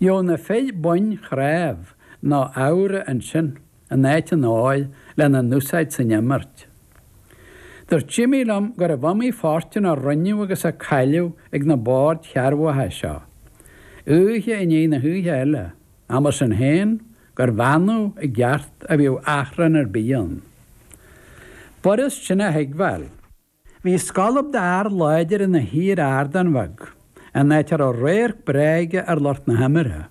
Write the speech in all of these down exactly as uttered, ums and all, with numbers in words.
Gheobhadh na fir boinn chnámh nó amhra ansin in áit an óir lena n-úsáid san imirt. Dúirt Jimmy liom gurbh iomaí fortún a rinneadh agus a cailleadh ag na boird chearrbhacha seo. Oíche i ndiaidh na hoíche eile, ach mar sin féin gurbh annamh i gceart a bhíodh achrann ar bith ann. B'fhurast sin a thuigbheáil. Bhí scolb d'fhear láidir ina shuí ar ardán bheag, an áit a raibh radharc breá aige ar lucht na himeartha.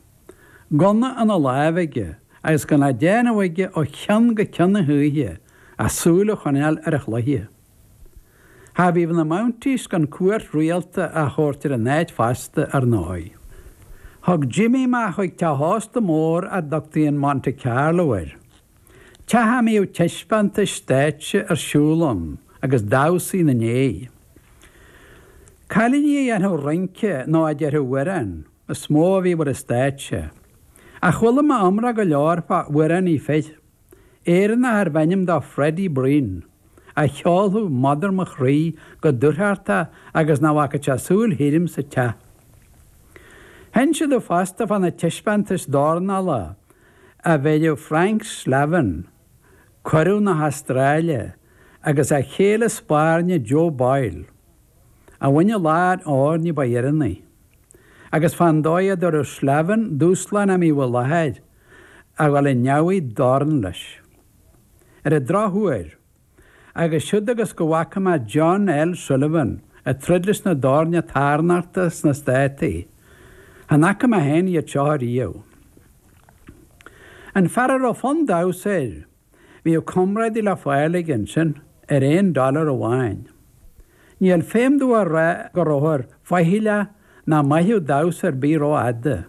Gunna ina láimh aige agus gan le déanamh aige ó cheann go ceann na hoíche ach súil a choinneáil ar an chluiche. Cha bhíodh na Mounties gan cuairt rialta a thabhairt ar an áit fosta ar ndóigh. Thug Jimmy mé chuig teach ósta mór a dtugtaí an Monte Carlo air. Teach a mbíodh taispeántais stáitse ar siúl ann agus damhsaí ina ndiaidh. Cailíní a dhéanfadh rince nó a déarfadh amhrán is mó a bhíodh ar an stáitse. Ach chuala mé iomrá go leor fá amhránaí fir, Éireannach arbh ainm dó Freddie Breen, a cheolfadh Mother mo chroí go dúthrachtach agus nach bhfaca sé súil thirim sa teach. D'inis sé domh fosta fá na taispeántais dornála a bheireadh Frank Slavin, curadh na hAstráile, agus a chéile spairne Joe Boyle, a bhain an ladhar óir ní ba dheireanaí. Agus fán dóigh a dtabharfadh Slavin dúshlán a mbíodh i láthair a dhul i ndeabhaidh dorn leis. Ar an drochuair, agus siúd agus go bhfaca mé John L. Sullivan ag troid leis na doirne tairneachta sna Státaí, chan fhaca mé féin iad seo ariamh. An fear a raibh fonn damhsa air, bhíodh comrádaí le fáil aige ansin ar aon dollar amháin. Níl feidhm domh a rá go rabhthar faichilleach nach mairfeadh damhsa ar bith rófhada.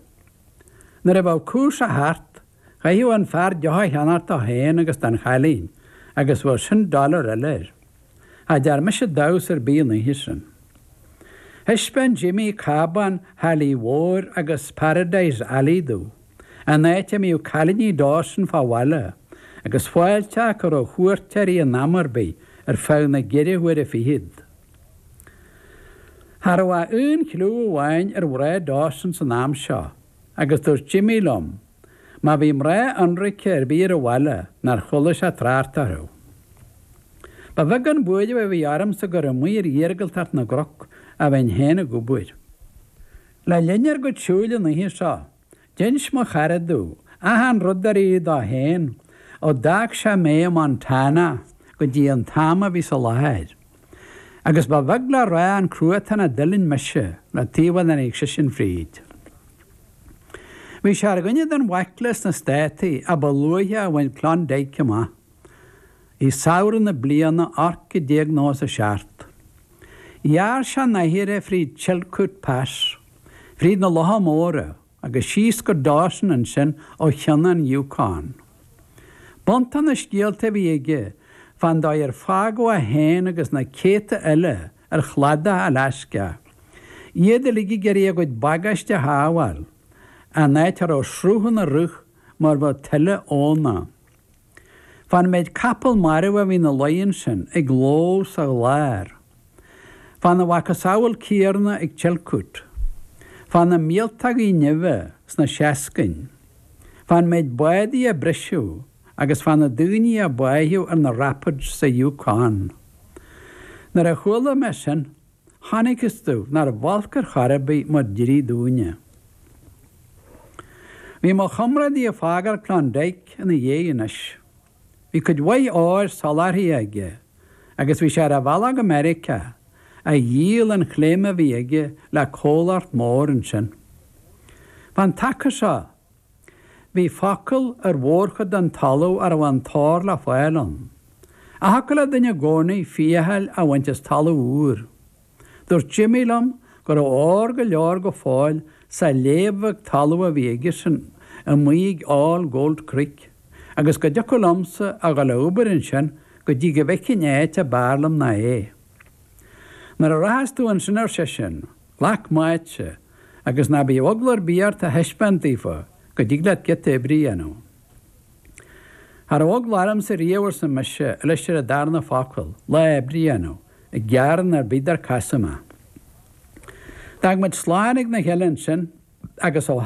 Nuair a bheadh cúrsa thart, chaithfeadh an fear deoch a cheannacht dó féin agus don chailín, agus bheadh sin dollar eile air. Cha dtear mise damhsa ar bith an oíche sin. Thaispeáin Jimmy cábán Halley Mhóir agus Paradise Alley domh, an áit a mbíodh cailíní Dawson fá bhaile, agus fáilte acu roimh chuairteoirí in am ar bith ar feadh na gceithre huaire fichead. Cha raibh ach aon chliú amháin ar mhná Dawson san am seo, agus dúirt Jimmy liom, má bhí mná ionraice ar bith ar an bhaile nár chuala sé trácht orthu. Ba bheag an buaireamh a bhí ormsa gur amuigh ar iargúltacht na gcnoc a bheinn féin ag obair. Le linn ár gcuid siúil an oíche seo, d'inis mo chara domh achan rud dár tharla dó féin ó d'fhág sé mé i Montana go dtí an t-am a bhíos i láthair. Agus ba bheag le rá an cruatan a d'fhuilaing mise le taobh a dtáinig seisean fríd. Bhí sé ar dhuine den bhaicle sna Státaí a ba luaithe a bhain Klondike amach, i samhradh na bliana ocht déag nócha a seacht. Ghearr sé an oighir fríd Chilkoot Pass, fríd na Locha Móra, agus síos go Dawson ansin ó cheann an Yukon. B'iontach na scéalta a bhí aige fán dóigh ar fágadh é féin agus na céadta eile ar chladach Alaska, iad uilig ag iarraidh a gcuid bagáiste a shábháil, an áit a raibh sruth ina rith mar bheadh tuile abhna. Fán méid capall marbh a bhí ina luí ansin ag lobhadh sa ghlár. Fána mhacasamhail céanna ag Chilkoot. Fá na míoltógaí nimhe sna seascainn. Fán méid bádaí a briseadh agus fá na daoine a báitheadh ar na rapids sa Yukon. Nuair a chuala mé sin, chonacthas domh nárbh olc ar chor ar bith mar d'éirigh dúinne. Bhí mo chomrádaí ag fágáil Klondike ina dhiaidh anois. Bhí cuid mhaith óir soláthartha aige, agus bhí sé ar a bhealach go Meiriceá, a dhíol an chléim a bhí aige le comhlacht mór ansin. Fán taca seo, bhí focal ar mhórchuid den talamh a raibh an t-ór le fáil ann. Ach thiocfadh le duine i gcónaí fiachail a bhaint as talamh úr. Dúirt Jimmy liom go raibh ór go leor go fóill sa léib bheag talaimh a bhí aigesean amuigh ag All Gold Creek, agus go dtiocfadh liomsa a dhul a obair ansin go dtí go bhfeicfinn áit a b'fhearr liom ná é. Nuair a rachas tú ansin ar seisean, glac m'áitse, agus ná bíodh eagla ar bith ort a thaispeáint daofa go dtig leat giota oibre a dhéanamh. Cha raibh eagla ormsa riamh arsa mise leis ar an darna focal, lá oibre a dhéanamh, i gcearn ar bith dar casadh mé. D'fhág muid slán ag na chéile ansin agus ó